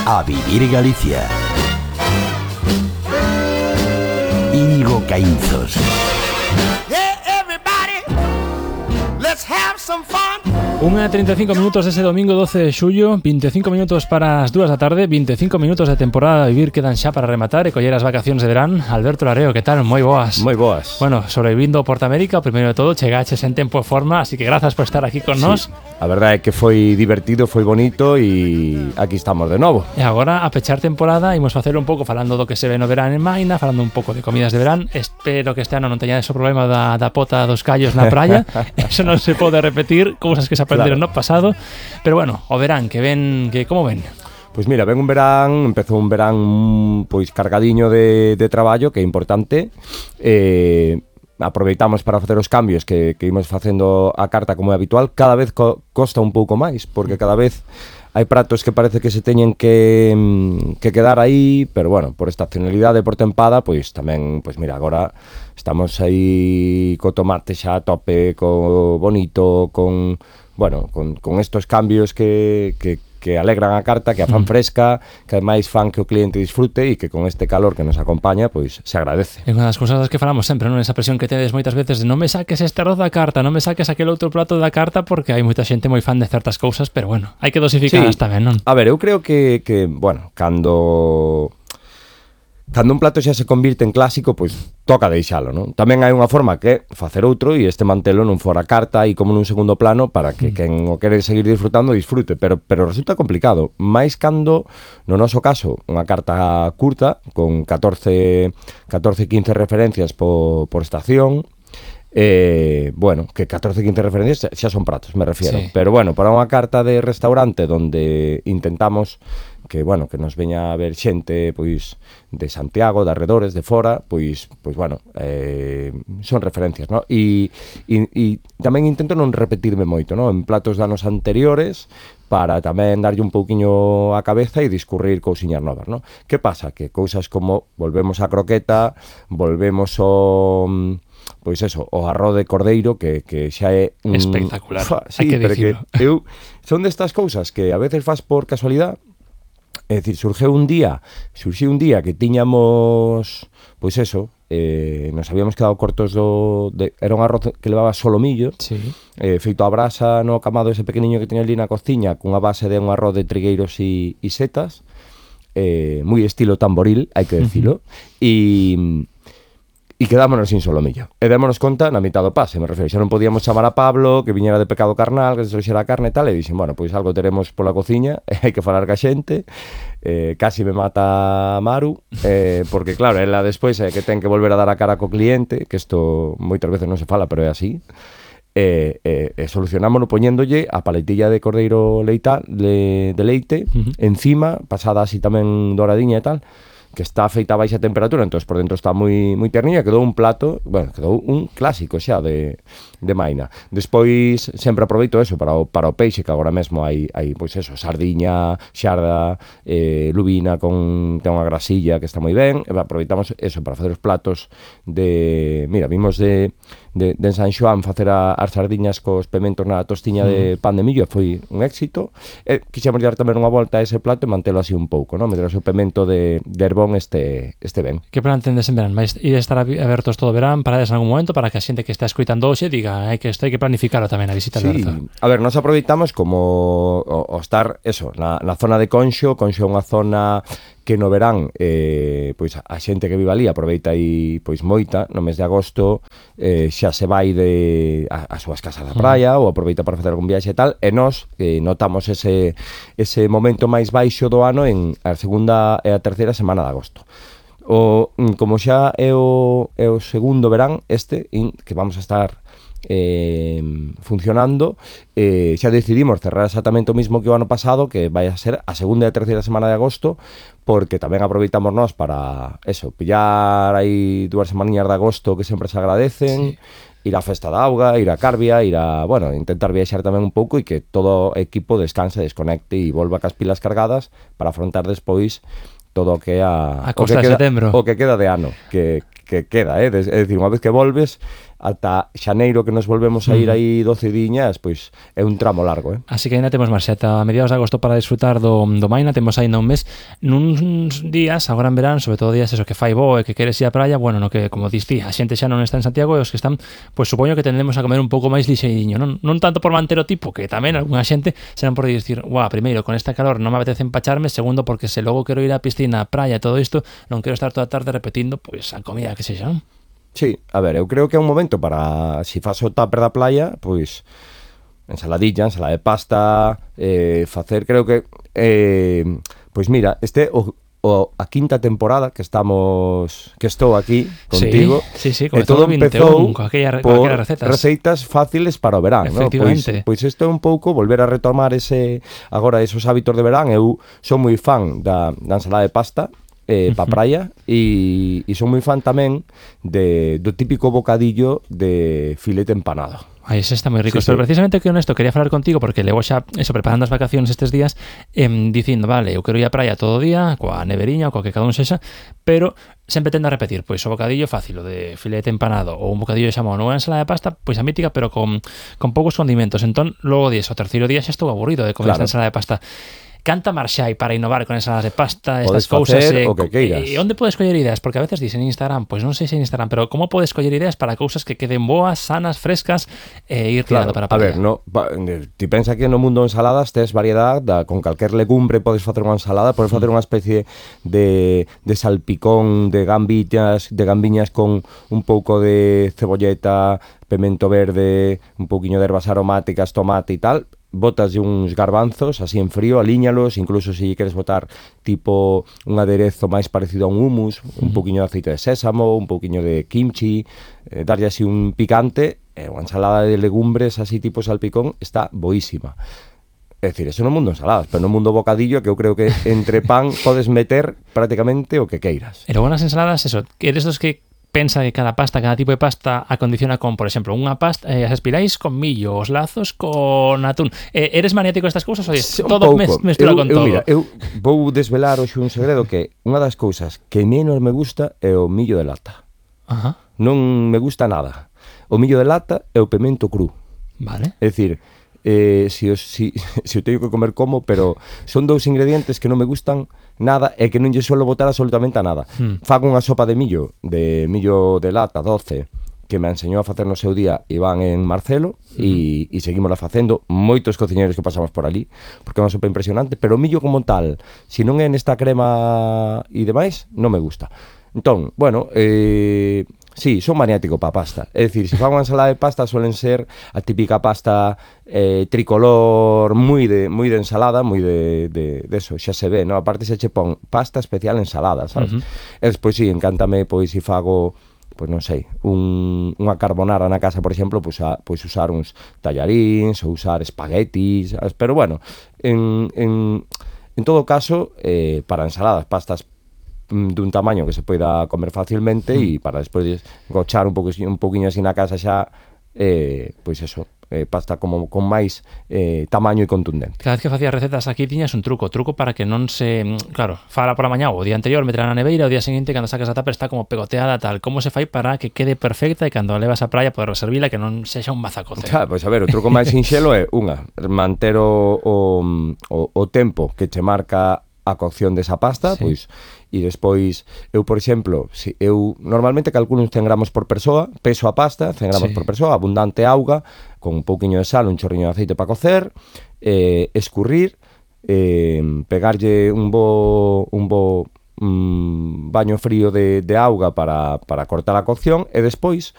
A vivir Galicia. Íñigo Caínzos. Yeah, everybody, let's have some fun. 1:35 minutos ese domingo 12 de xullo, 25 minutos para as 2 da tarde, 25 minutos de temporada a vivir quedan xa para rematar e coller as vacacións de verán. Alberto Lareo, que tal? Moi boas. Moi boas. Bueno, sobrevivindo ao Portamérica, o primeiro de todo, chegaches en tempo e forma, así que grazas por estar aquí con nós. A verdade é que foi divertido, foi bonito e aquí estamos de novo. E agora, a pechar temporada, imos facer un pouco falando do que se ve no verán en Maina, falando un pouco de comidas de verán. Espero que este ano non teñades o problema da pota dos callos na praia. Eso non se pode repetir, cousas que se aprenderon no pasado. Pero bueno, o verán, que ven, que como ven? Pois mira, ven un verán, empezou un verán pois cargadiño de traballo, que é importante. Aproveitamos para facer os cambios que imos facendo a carta como é habitual. Cada vez costa un pouco máis, porque cada vez hai pratos que parece que se teñen que quedar aí, pero bueno, por estacionalidade, por tempada, pois tamén, pois mira, agora estamos aí co tomate xa a tope, co bonito, con estos cambios que alegran a carta, que a fan fresca, que ademais fan que o cliente disfrute e que con este calor que nos acompaña, pois se agradece. É unha das cousas das que falamos sempre, non? Esa presión que tedes moitas veces de non me saques este arroz da carta, non me saques aquel outro prato da carta, porque hai moita xente moi fan de certas cousas, pero bueno, hai que dosificarlas tamén, non? A ver, eu creo que bueno, cando un plato xa se convirte en clásico, pois toca deixalo, non? Tamén hai unha forma que é facer outro e este mantelo non fora carta e como nun segundo plano para que quen o quere seguir disfrutando disfrute, pero resulta complicado, máis cando no noso caso unha carta curta con 14-15 referencias por estación. Bueno, que 14-15 referencias xa son pratos, me refiero, sí. Pero bueno, para unha carta de restaurante donde intentamos que, bueno, que nos veña a ver xente, pois, de Santiago, de arredores, de fora, pois bueno, son referencias, ¿no? E tamén intento non repetirme moito, ¿no? En platos de anos anteriores, para tamén darlle un pouquiño a cabeza e discurrir cousiñas novas, ¿no? Que pasa? Que cousas como volvemos a croqueta, volvemos o... pois eso, o arroz de cordeiro que xa é espectacular, sí, hai que dicirlo. Eu son destas cousas que a veces faz por casualidade. É dicir, surxiu un día que tiñamos, pois eso, nos habíamos quedado cortos era un arroz que levaba solomillo, sí. Feito a brasa no camado ese pequeniño que tiña ali na cociña, cunha base de un arroz de trigueiros e setas, moi estilo tamboril, hai que decilo, e quedámonos sin solomillo. E démonos conta na mitad do pase, me refiro, xa non podíamos chamar a Pablo, que viñera de pecado carnal, que se trouxera a carne e tal, e dixen, bueno, pois algo teremos pola cociña, e hai que falar ca xente, casi me mata Maru, porque claro, ela despois é que ten que volver a dar a cara co cliente, que isto moitas veces non se fala, pero é así, e solucionámonos poñéndolle a paletilla de cordeiro de leite, encima, pasada así tamén doradiña e tal, que está feita a baixa temperatura, entón por dentro está moi terniña, quedou un plato, bueno, quedou un clásico xa de Maina. Despois sempre aproveito eso para o peixe, que agora mesmo hai pois eso, sardiña, xarda, lubina ten unha grasilla que está moi ben, e aproveitamos eso para facer os platos mira, vimos de San Xoán facer as sardiñas cos pementos na tostiña de pan de millo, foi un éxito. Quixemos dar tamén unha volta a ese plato e mantelo así un pouco, non? Meter o seu pemento de herbón este ben. Que plan tendes en verán? Vais ir a estar abertos todo o verán, parades en algún momento para que a xente que está escoitando hoxe diga que isto hai que planificarlo tamén a visita, Alberto. Sí, a ver, nos aproveitamos como o estar, eso, na zona de Conxo é unha zona que no verán, pois a xente que vive ali aproveita aí pois moita, no mes de agosto xa se vai as súas casas da praia ou aproveita para facer algún viaxe e tal, e nós notamos ese momento máis baixo do ano en a segunda e a terceira semana de agosto. Como xa é o segundo verán que vamos a estar funcionando, xa decidimos cerrar exactamente o mismo que o ano pasado, que vai a ser a segunda e a terceira semana de agosto, porque tamén aproveitamos nós para eso, pillar aí 2 semaninhas de agosto que sempre se agradecen, ir á Festa da Auga, ir a Carbia, intentar viaxar tamén un pouco e que todo o equipo descanse, desconecte e volva cas pilas cargadas para afrontar despois todo o que é a costa de setembro, o que queda de ano, que queda, é dicir, unha vez que volves ata xaneiro que nos volvemos a ir aí 12 diñas, pois é un tramo largo, Así que ainda temos marxe ata mediados de agosto para disfrutar do Maina, temos aínda un mes, nuns días, agora en verán, sobre todo días eso que fai bo e que queres ir á praia, bueno, no que, como diste, a xente xa non está en Santiago e os que están, pois supoño que tendemos a comer un pouco máis lixeiriño, non tanto por manter o tipo, que tamén algunha xente serán por dicir, primeiro, con esta calor non me apetece empacharme, segundo, porque se logo quero ir á piscina, á praia, todo isto, non quero estar toda a tarde repetindo, pois a comida que sexa, non? Sí, a ver, eu creo que é un momento para, si fas o tupper da playa, pois ensaladilla, ensalada de pasta, facer, creo que pois mira, a quinta temporada que estou aquí contigo, sí, todo empezou con aquelas receitas fáciles para o verán, efectivamente, ¿no? Pois isto é un pouco volver a retomar agora esos hábitos de verán. Eu son moi fan da ensalada de pasta pa praia e son moi fan tamén do típico bocadillo de filete empanado. Ai, ese está moi rico. Sí, Pero precisamente que honesto quería falar contigo porque levo xa preparando as vacacións estes días dicindo, vale, eu quero ir á praia todo o día coa neveriña ou coa que cada un sexa, pero sempre tendo a repetir, pois o bocadillo fácil, o de filete empanado ou un bocadillo de xamón ou unha ensalada de pasta, pois a mítica, pero con poucos condimentos. Entón, logo o terceiro día xa estou aburrido de comer esta ensalada de pasta. Canta marxa hai para innovar con ensaladas de pasta, estas cousas. O que queiras. E onde podes coller ideas? Porque a veces dicen en Instagram, pois non sei se en Instagram, pero como podes coller ideas para cousas que queden boas, sanas, frescas e ir tirando para a praia? A ver, ti pensa que no mundo de ensaladas tes variedade, con calquer legumbre podes facer unha ensalada, podes facer unha especie de salpicón de gambiñas con un pouco de cebolleta, pemento verde, un pouquiño de ervas aromáticas, tomate e tal. Botas uns garbanzos así en frío, alíñalos, incluso se queres botar tipo un aderezo máis parecido a un hummus, un pouquiño de aceite de sésamo, un pouquiño de kimchi, darlle así un picante, unha ensalada de legumbres así tipo salpicón está boísima. É dicir, eso no mundo ensaladas, pero no mundo bocadillo, que eu creo que entre pan podes meter prácticamente o que queiras. E logo nas ensaladas, eso, que eres dos que pensa que cada tipo de pasta acondiciona con, por exemplo, unha pasta, as espirais con millo, os lazos con atún. Eres maniático destas cousas ou todo mestura con todo? Mira, eu vou desvelar hoxe un segredo que unha das cousas que menos me gusta é o millo de lata. Ajá. Non me gusta nada. O millo de lata é o pemento cru. Vale. É dicir, se o teño que comer como, pero son dous ingredientes que non me gustan nada e que non lle suelo botar absolutamente a nada. Fago unha sopa de millo de lata doce que me enseñou a facer no seu día Iván en Marcelo e seguimos facendo moitos cociñeiros que pasamos por ali porque é unha sopa impresionante, pero o millo como tal, se non é nesta crema e demais, non me gusta. Entón, bueno, sí, son maniático pa pasta. É dicir, se fago unha ensalada de pasta suelen ser a típica pasta tricolor moi de ensalada, moi de eso, xa se ve, ¿no? Aparte se che pon pasta especial ensalada, sabes? E despois sí, encántame, pois se fago, pois non sei, unha carbonara na casa, por exemplo, pois usar uns tallaríns ou usar espaguetis, sabes? Pero bueno, en todo caso, para ensaladas, pastas dun tamaño que se poida comer facilmente e para despois gochar un pouquiño así na casa xa, pois eso, pasta como con máis tamaño e contundente. Cada vez que facías recetas aquí tiñas un truco para que non se, claro, fala por a mañá ou o día anterior, meterá na neveira, o día seguinte cando sacas a tupper está como pegoteada tal. Como se fai para que quede perfecta e cando a levas á praia poder reservila que non sexa un mazacote? Pois a ver, o truco máis sinxelo é manter o tempo que che marca a cocción desa pasta, sí. Pois, e despois, eu, por exemplo, eu normalmente calculo uns 100 gramos por persoa, peso a pasta, 100 gramos por persoa, abundante auga, con un pouquiño de sal, un chorriño de aceite para cocer, escurrir, pegarlle un bo baño frío de auga para cortar a cocción, e despois